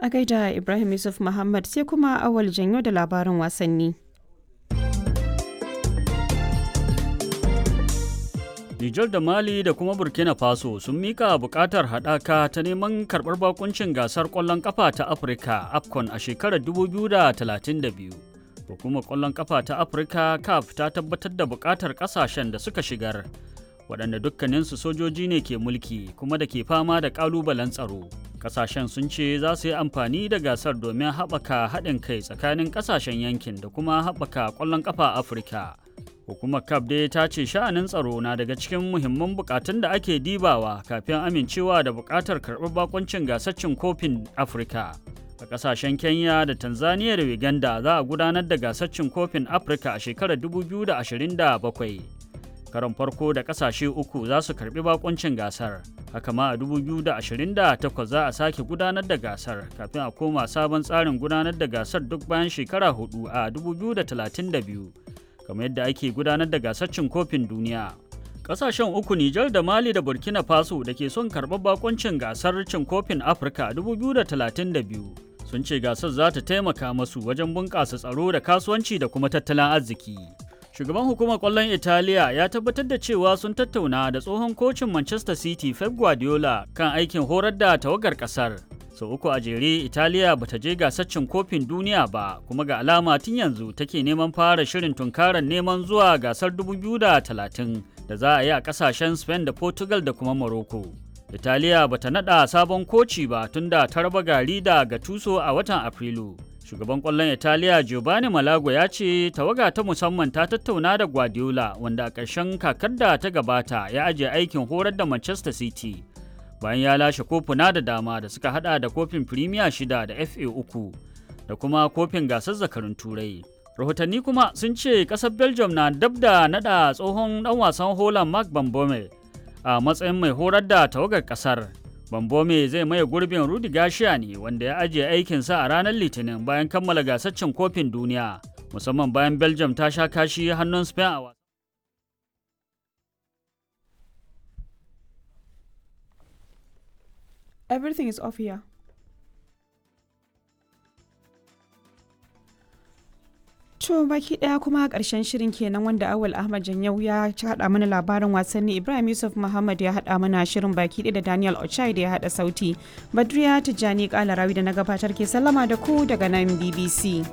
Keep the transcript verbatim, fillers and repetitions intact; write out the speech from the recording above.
A gaida Ibrahim Yusuf Muhammad sai kuma Awal Janyo da labarin wasanni. Nijar da Mali da kuma Burkina Faso sun mika bukatar haɗaka ta neman karɓar bakuncin gasar ƙwallon ƙafa ta Afirka AFCON a shekarar dubu biyu da talatin da biyu. Hukumar ƙwallon ƙafa ta Afirka CAF ta tabbatar da bukatar ƙasashen da suka shigar, waɗanda dukkaninsu sojoji ne ke mulki kuma da ke fama da ƙalubalen tsaro. Ƙasashen sun ce za su yi amfani da gasar domin haɓaka haɗin kai tsakanin ƙasashen yankin da kuma haɓaka ƙwallon ƙafa Afirka. Hukumar C A F dai ta ce sha'anin tsaro na daga cikin muhimman bukatun da ake dibawa kafin amincewa da bukatar karɓar bakuncin gasar cin kofin Afirka. A ƙasashen Kenya da Tanzania da Uganda za a gudanar da gasar cin kofin Afirka a shekarar dubu biyu da ashirin da bakwai. Karon farko da ƙasashe uku za su karɓi bakuncin gasar. Haka ma a dubu biyu da ashirin da takwas za a sake gudanar da gasar kafin a koma sabon tsarin gudanar da gasar duk bayan shekara hudu a dubu biyu da talatin da biyu, kamar yadda ake gudanar da gasar cin kofin duniya. Kasashen uku, Nijar da Mali da Burkina Faso, da ke son karɓar bakuncin gasar cin kofin Afirka dubu biyu da talatin da biyu sun ce gasar za ta taimaka masu wajen bunƙasa tsaro da kasuwanci da kuma tattalin arziki. Shugaban hukumar ƙwallon Italiya ya tabbatar da cewa sun tattauna da tsohon kocin Manchester City Pep Guardiola kan aikin horar da tawagar ƙasar. Sau uku a jere Italiya bata je gasar cin kofin duniya ba, kuma ga alama tun yanzu take neman fara shirin tunkarar neman zuwa gasar dubu biyu da talatin da za a yi a kasashen Spain da Portugal da kuma Morocco. Italiya bata nada sabon koci ba tunda ta raba gari da Gattuso a watan Afrilu. Shugaban kwallon Italiya Giovanni Malago ya ce tawaga ta musamman ta tattauna da Guardiola, wanda a ƙarshen kakar da ta gabata ya ajiye aikin horar da Manchester City bayan ya lashe kofuna da dama da suka hada da kofin Premier shida da F A uku da kuma kofin gasar zakarun Turai. Rahotanni kuma sun ce kasar Belgium na dab da nada tsohon dan wasan Holland Mark Bambome a matsayin mai horar da tawagar kasar. Bambome zai maye gurbin Rudi Garcia ne, wanda ya ajiye aikinsa a ranar Litinin bayan kammala gasar cin kofin duniya, musamman bayan Belgium ta sha kashi hannun Spain a wasan. Everything is off here. To baki daya kuma karshen shirin kenan, wanda Awal Ahmad Janyau ya haɗa mana labarin wasanni, Ibrahim Yusuf Muhammad ya haɗa mana shirin baki ɗaya, da Daniel Ochai da ya haɗa sauti. Badriya Tijjani Kalarawi da na gabatar ke sallama da ku daga nan B B C.